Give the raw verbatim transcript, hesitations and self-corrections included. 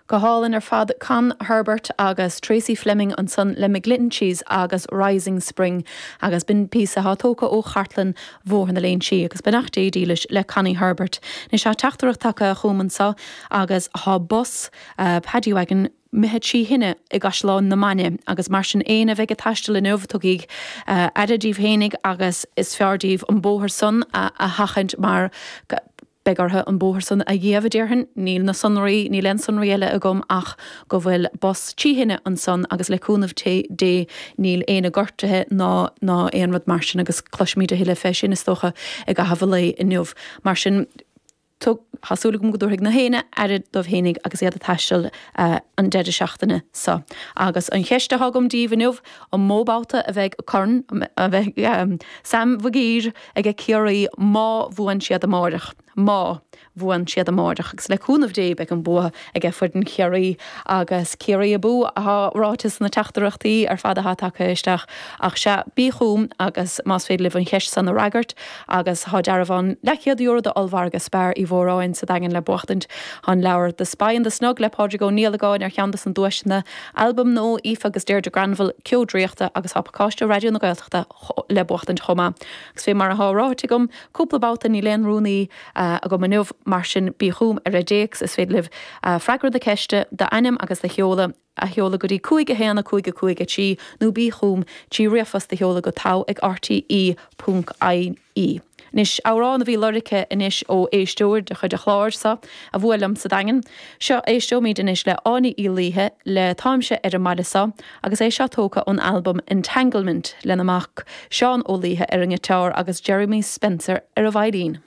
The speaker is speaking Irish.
Go hálainn ar fad Con Herbert agus Tracy Fleming ansan le McGlinchey's agus Rising Spring agus b'in píosa atá tógtha ó chartlann Bhóthar na Léinsí agus beannacht Dé dílis le Connie Herbert. Anois tá teachtaireacht tagtha chugam anseo agus tá bus uh, Paddy Wagon imithe trí thine i gCaisleán na Mainge agus mar sin éinne a bheidh ag taisteal inniu tugaigí uh, aire daoibh fhéinig agus is fearr daoibh an bóthar san a, a sheachaint mar beidh orthu an bóthar san a dhéanamh déarfainn, níl na sonraí níl aon sonraí eile agam ach go bhfuil bus trí thine ansan agus le cúnamh Dé níl aon gortuithe ná ná aon rud mar sin agus cloisfimid a thuilleadh fé sin is dócha i gcaitheamh an lae inniu. Mar sin tá súil agam go dtabharfaidh gach éinne aire dóibh fhéinig agus iad ag taisteal uh, an deireadh seachtaine seo. Agus an cheist atá agam daoibh inniu an mó babhta a bheidh corn a bheidh um, Sam Mhig Uidhir ag Ciarraí má bhuann siad amárach. Má bhuann siad amárach agus le cúnamh Dé beidh an bua ag foireann Chiarraí agus Ciarraí abú atá ráite sna teachtaireachtaí ar fad atá tagtha isteach ach sea bí chugam agus más féidir libh an cheist san a fhreagairt agus tá dearbhán leathchéad euro do ollmhargadh Spar Uí Mhóráin sa Daingean le buachtaint an leabhar The Spy and the Snug le Pádraig Ó Niallagáin ar cheann des na duaiseanna albam nua Aoife agus Deirdre Granville Ceo Draíochta agus tá pacáiste Raidió na Gaeltachta le buachtaint chomh maith. Agus fé mar atá ráite agam cúpla babhta níl aon rúnaí uh, agam inniu mar sin bí chugam ar an dtéacs is féidir libh uh, freagra na ceiste d'ainm agus do sheoladh a sheoladh go dtí cúig a haon a cúig a cúig a trí nó bí chugam trí ríomhphost a sheoladh go togha ag RTE ponc IE. Anois amhrán a bhí lorgtha anois ó éisteoir de chuid an chláir seo a bhuail liom sa Daingean. Seo éisteoimid anois le Áine Uí Laoithe le Táimse ar an mbaile seo, agus é seo tógtha ón album Entanglement lena mac Seán Ó Laoithe ar an ngiotár agus Jeremy Spencer ar an veidhlín.